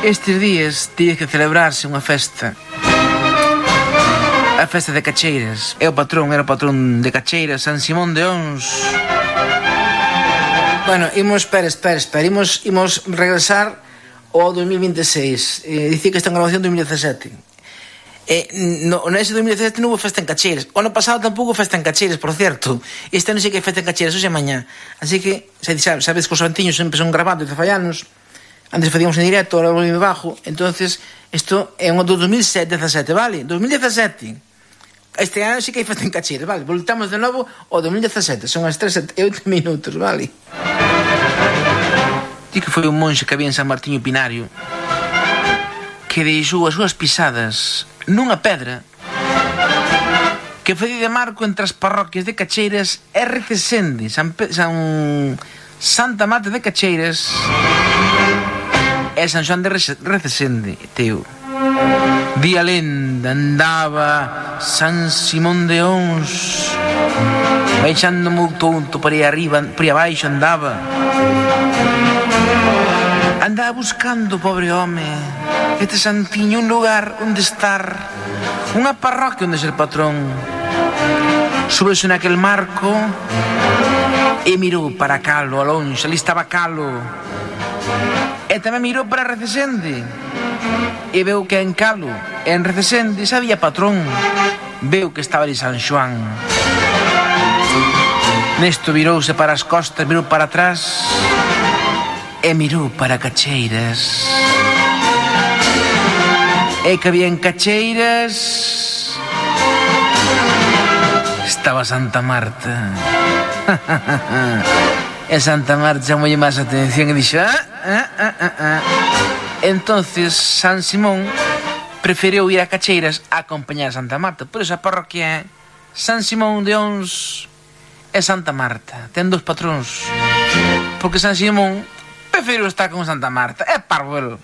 Estes días tiña que celebrarse unha festa. A festa de Cacheiras. Era o patrón de Cacheiras, San Simón de Ons. Bueno, espera. Imos regresar ao 2026. Dicía que esta grabación 2017. Nese 2017 non houve festa en Cacheiras. O ano pasado tampouco festa en Cacheiras, por certo. Este ano sei que hai festa en Cacheiras, hoxe e mañá. Así que, sabes que os antiños sempre son grabados de fallanos. Antes facíamos en directo, ahora volvíme bajo. Entonces, isto é un do 2017, vale? 2017. Este ano sí que hai festa en Cacheiras, vale? Voltamos de novo ao 2017. Son as 3:08, vale? Di que foi un monxe que había en San Martiño Pinario que deixou as súas pisadas nunha pedra que foi de marco entre as parroquias de Cacheiras e Recesende, Santa Marta de Cacheiras e San Xoán de Recesende, teo. Di a lenda, andaba San Simón de Ons baixando moi tonto por aí arriba, por aí abaixo andaba buscando, pobre home, este santiño, un lugar onde estar, unha parroquia onde ser patrón. Subeuse naquel marco e mirou para Calo, a longe, ali estaba Calo. E tamén mirou para Recesende e veu que en Calo e en Recesende xa había patrón. Veu que estaba ali San Xoán. Nesto virouse para as costas, mirou para atrás e mirou para Cacheiras. E que había en Cacheiras estaba Santa Marta. E Santa Marta chamoulle máis atención e dixo Entonces San Simón preferiu ir a Cacheiras a acompañar a Santa Marta. Por iso a parroquia San Simón de Ons e Santa Marta. Ten dos patróns, porque San Simón preferiu estar con Santa Marta. É parvo.